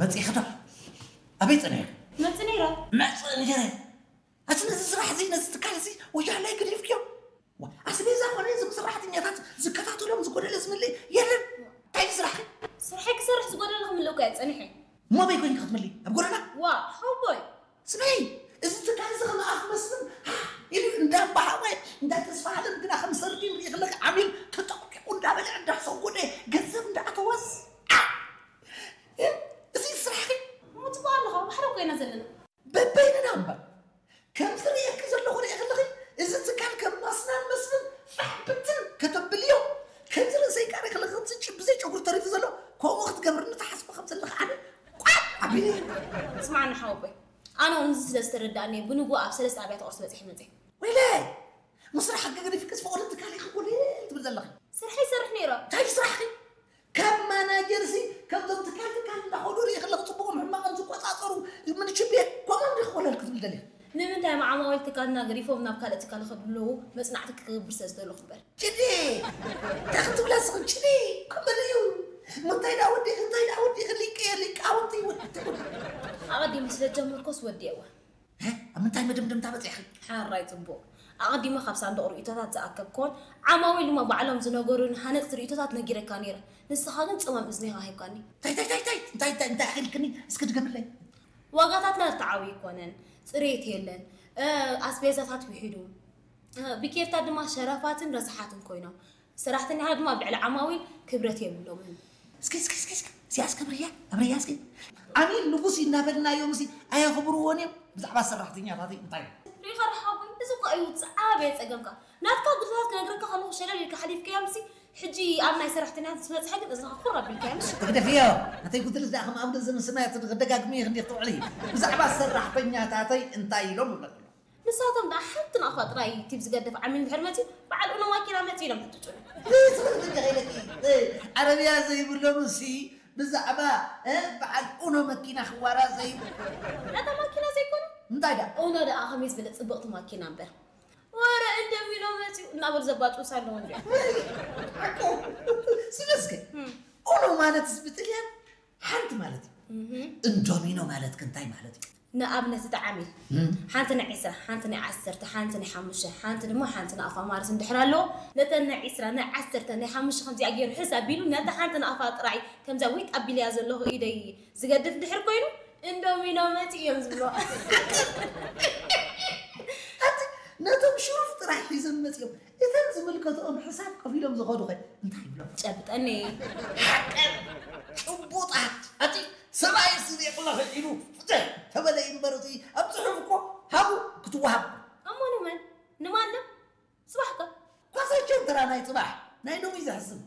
መፂእኺ ዶ? ኣበይ ፀኒሕኪ? መፂእ ነይረ። መፅእ ንገረ። ኣቲ ነዚ ስራሕ እዚ፣ ነዚ ትካል እዚ ወያላይ ገዲፍክዮ። ዋ፣ ኣስቤዛ ኮነ እዞም ሰራሕተኛታት ዝከታተሎም ዝጎደለ ዝምልእ የለን። እንታይ እዩ ስራሕኪ? ስርሐይ ክሰርሕ ዝጎደለ ክምልእ እኮ እየ ፀኒሐ። እሞ ኣበይ ኮይንኪ ክትምልኢ? ኣብ ጎደና? ዋ ሓወቦይ። ስምዒ፣ እዚ ትካል እዚ ከም ኣፍ መስፍን ኢሉ እንዳባሃወ፣ እንዳተስፋሃለን ግና ከም ሰርዲን ሪእኽለክ ዓሚል ተጠቕጢቑ እንዳበልዐ እንዳሰጎደ ገንዘብ እንዳኣተወስ። ኣ! እዚ ስራሕኪ? እሞ ፅቡቅ ኣለኻ፣ ባሕሪ እኮ ኢና ዘለና። በበይንና እምበር። ከምዚ ርእየኪ ዘለኹ ርእየ ከለኺ፣ እዚ ትካል ከም ማስናን መስፍን ፋሕ ብትን ከተብልዮ። ከምዚ ርእሰይ ቃሪ ከለኺ፣ ከምዚ ጭ-፣ ብዘይ ጨጉሪ ተሪፉ ዘሎ፣ ከምኡ ክትገብርኒ ትሓስቢ ከም ዘለኺ ኣነ ቋዕ ኣቢለ እየ። ስማዕኒ ሓወቦይ፣ ኣነ እውን እዚ ስለ ዝተረዳእኒ፣ ብንግሆ ኣብ ሰለስተ ኣብያተ ቁርሲ በፂሐ መፅእ። ወይለይ! ምስራሕ ሕጊ ገዲፍክስ ፍቑድ ትካል ኢኺ ኮለል ትብል ዘለኺ። ስርሐይ ይሰርሕ ነይረ። እንታይ ስራሕኺ? ካብ ማናጀርሲ፣ ከምዞም ትካል ትካል እንዳኸዱ ርእየ ከለኹ፣ ፅቡቕን ሕማቕን ዝቆፃፀሩ ምንችቤ፣ ከምኦም ዲኺ ኮለል ክትብል ደሊኺ? ንምንታይ ዓማዊል ትካልና ገዲፎም ናብ ካልእ ትካል ክኸዱ ኣለዉ? መፅናዕቲ ክገብር ስለ ዝደለኹ እምበር። ችዲ! እንታይ ክትብላ ስኽን ችዲ! ከምኡ እዩ። እንታይ ደኣ ወዲእኺ፣ እንታይ ደኣ ወዲእኺ፣ ሊቀ ሊቃውንቲ ወዲ። ኣቐዲሙ ስለ ጀመርኮስ ወዲኤዋ። እ? ኣብ ምንታይ መደምደምታ በፂሕኺ? ሓራይ ፅቡቕ። ኣቐዲመ ካብ ሳንዱቕ ርእይቶታት ዝኣከብክዎን ዓማዊል ድማ ባዕሎም ዝነገሩን ሃነፅቲ ርእይቶታት ነጊረካ ነይረ። ንስኻ ግን ፅማም እዝኒኻ ሂብካኒ። እንታይ እንታይ እንታይ እንታይ እንታይ እንታይ እንታይ ኣኺልክኒ? እስኪ ድገምለይ። ዋጋታትና ርትዓዊ ኣይኮነን፣ ፅሬት የለን፣ እ፣ ኣስቤዛታት ውሒዱ፣ እ፣ ብኬርታ ድማ ሸረፋትን ረሳሓትን ኮይኖም፣ ሰራሕተኛታት ድማ ኣብ ልዕሊ ዓማዊል ክብረት የብሎምን። እስኪ እስኪ እስኪ እስኪ እስያስ ክብርያ ኣብርያ እስኪ ዓሚል ንጉስ እናበልናዮም ሲ ኣየኽብርዎን እዮም። ብዛዕባ ሰራሕተኛታተይ እንታይ ሪኻ ረሓቦይ፣ እዚ እኮ እዩ ዝዓበየ ፀገምካ። ናትካ ጉድለታት ክነግረካ ከለኹ ሸለል ኢልካ ሓሊፍካዮም ሲ ሕጂ ኣብ ናይ ሰራሕተኛታት ምስ በፅሐ ግን እዝንኻ ኩር ኣቢልካዮ ምሽ። ትግደፍዮ። ናተይ ጉድለት ደኣ ከም ኣብ ገንዘብ ሰማያት ክደጋግምዮ ክንዲ ክትውዕሊ። ብዛዕባ ሰራሕተኛታተይ እንታይ ኢሎም ይብለኩ? ንሳቶም ደኣ ሓንቲ ናቕፋ ጥራይ ቲብ ዝገድፍ ዓሚል እንድሕር መፅዩ በዓል ኡኖ ማኪና መፅዩ ኢሎም ሕትጩ። ትኽክል ኢለኪ። ዓረብያ ዘይብሎም ሲ ብዛዕባ እ፣ በዓል ኡኖ መኪና ክዋራ ዘይብሉ። ነታ ማኪና ዘይኮነ እንታይ ደኣ? ኡኖ ደኣ ከመይ ዝበለ ፅብቕቲ ማኪና እምበር። ወረ እንደሚኖ መፅዩ እናበሉ ዘባጭውሳ ኣለዎ እንዲ። ሓቆ ስለስከ ኡኖ ማለት ብጥልያን ሓንቲ ማለት እዩ። እንዶሚኖ ማለት ከ እንታይ ማለት እዩ? ንኣብነት እቲ ዓሚል ሓንቲ ናይ ዕስራ፣ ሓንቲ ናይ ዓሰርተ፣ ሓንቲ ናይ ሓሙሽተ፣ ሓንቲ ድማ ሓንቲ ንኣፋ ማርስ እንድሕር ኣለዎ፣ ነተን ናይ ዕስራ፣ ናይ ዓሰርተ፣ ናይ ሓሙሽተ ከምዚኣ ገይሩ ሕዝ ኣቢሉ ነታ ሓንቲ ንኣፋ ጥራይ ከምዚኣ ዊጥ ኣቢለያ ዘለኹ ኢደይ ዝገድፍ ድሕር ኮይኑ እንዶሚኖ መፂ እዮም ዝብሎ። ኣቲ ነቶም ሽሩፍ ጥራይ ሒዞም መፂኦም እተን ዝምልከትኦም ሕሳብ ከፊሎም ዝኸዱ ኸ እንታይ ይብሎም? ጨብጠኒ። ሓቀን ጭቡጣት ኣቲ ሰብኣይ ስኒ ይቕለኺ ኢሉ ፍትሕ ተበለ እዩ እምበር እቲ ኣብ ፅሑፍ እኮ ሃቡ ክትወሃብ እሞ ንመን ንማንም ፅባሕ ከ ኳሳቸው ተራ ናይ ፅባሕ ናይ ሎሚ ዘሕስብ